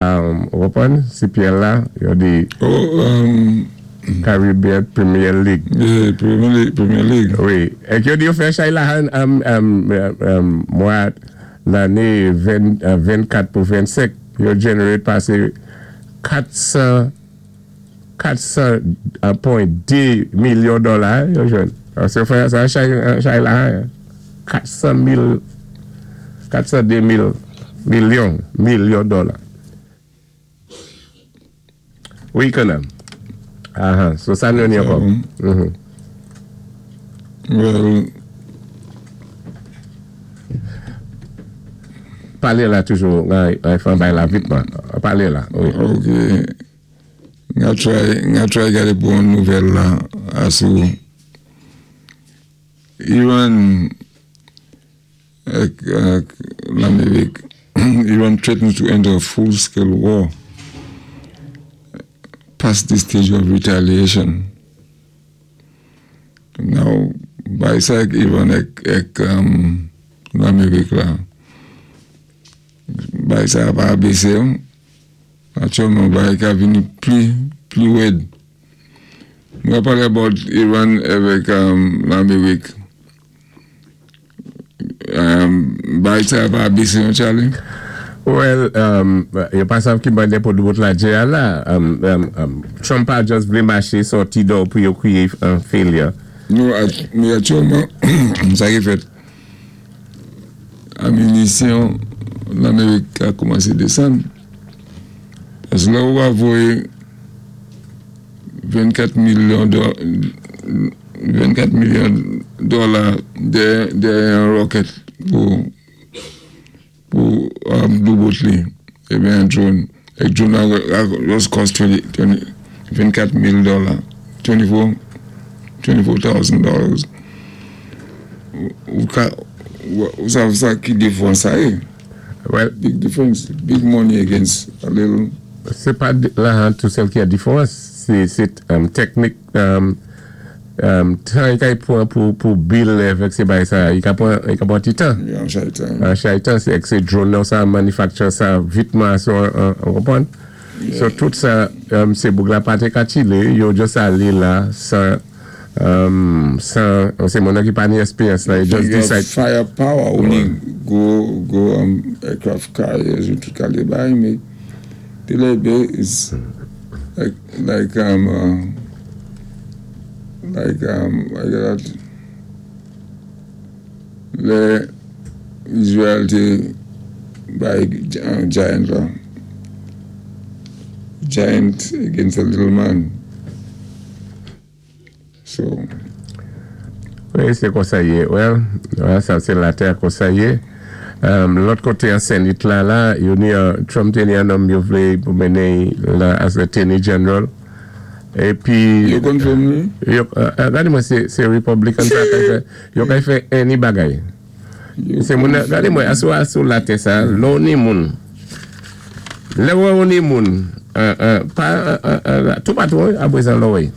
Ou konpwann? CPL la, yo di Oh, Caribbean Premier League. Yeah, Premier League, Premier League. Wi. Èk yo di yo fè chay la mwa lanné 24 pou 25, yo generate pasé 400 400.2 milyon dola yo jwenn. So yo fè sa chay la 400 mil 402 mil milyon dola. Wi, kannan. Aha, so sa nou ni ankò? Well, Palé la toujou, ay fè bay la vitman. Palé la, wi. Ok. Nga try gade pou an nouvèl la asou. Iran ak Lamérik. Iran threatens to enter a full-scale war past the stage of retaliation. Now, bay sa ek Iran ek Lamérik la, bay sa pa abese yo. Aktyèlman, bay ka vini pli wèd. Mwen pale about Iran avèk Lamérik. Bay sa pa abese yo, Charlie? Well, yo pa sav ki bande pou doubout la dje a la. Trump pa just vle mache sorti do pou yo kriye an failure. Nou, mi aktyèlman, sa ki fèt, aminisyon Lamérik a koumanse desann. Paske la ou va voye 24 milyon 24 milyon dola de yon rocket pou doubout li, ebe yon drone. Ek drone la just cost 20, 20, 24 mil dola, 24 $24,000. Ou ka, ou sa ki diferans sa yé? Well, Big difference, big money against a little. Se pa la han tout sèl ki a diferans, se teknik tan yi kay pran pou bil evek se bay sa, yi ka pran ti tan. Yon chay tan. An chay tan, se ek se drone nan sa manufacture sa vitman so, an konpwann? So tout sa, se boug la pate ka chile, yo just ale la san, se moun nan ki pa ni esperyans la, yo just You have decide. Firepower, only go aircraft carriers ou tout kalé bay, mais the lebe is like that. Lè Israel te bay giant la. Giant against a little man. So, Wi, se konsa yé. Well, sa se la ter konsa yé. Lòt koté an Senate la, yo ni Trump te ni an nonm yo vlé pou mennen la as Attorney General. É pi Yo confirm ni? Yo, gade mwen se Republican sa kay fè, yo kay fè any bagay. Se moun, gade mwen, asou la tè sa, lò ni moun. Lè wè ou ni moun, pa, tout patou, apwezan lò wè.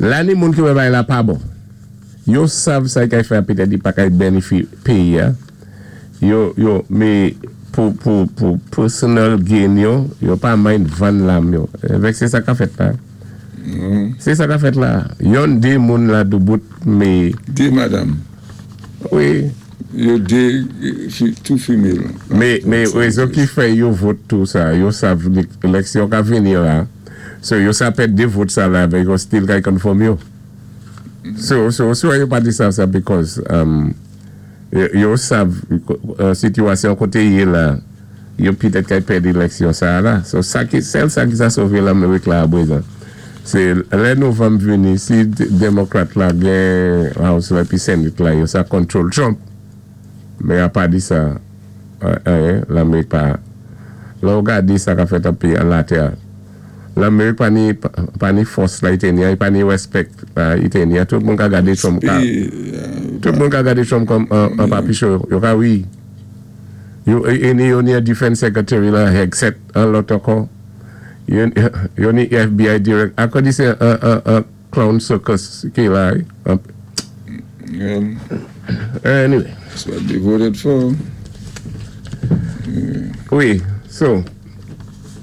La ni moun ki wè bay la pa bon. Yo sav sa kay fè apetè di pa kay benefi peyi ya. Yo, me, pou personal gain yo, yo pa mind van lam yo. Evek se sa ka fèt la. Se sa ka fèt la. Yon de moun la doubout, me, Dé madame. Wi. Yo dé, two female. Me rezon ki fè yo vote tout sa, yo sav eleksyon ka vini la, so yo sa pèd de vote sa la, yo still kay confirm yo. So yo pa di sa sa because yo sav situasyon koté ye la, yo pitèt kay pèd eleksyon sa la. So sa ki, sel sa ki sa sove l'Amerik la abwezan. Se lè novanm vini, si Demokrat la gen House la pi Senate la, yo sa control Trump. Men a pa di sa, l'Amerik pa, la ou gade sa ka fèt api an la ter. L'Amerik pa ni fòs la itenya, pa ni respect la itenya. Tout moun ka gade Trump ka, tout moun ka gade Trump kòm an papicho. Yo ka wi. Yo, e ni yo ni a defense secretary la, Hegseth, an lòt ankò. Yo ni FBI direct. Akò di se an clown circus ki la. Anyway. That's what they voted for. Wi, so.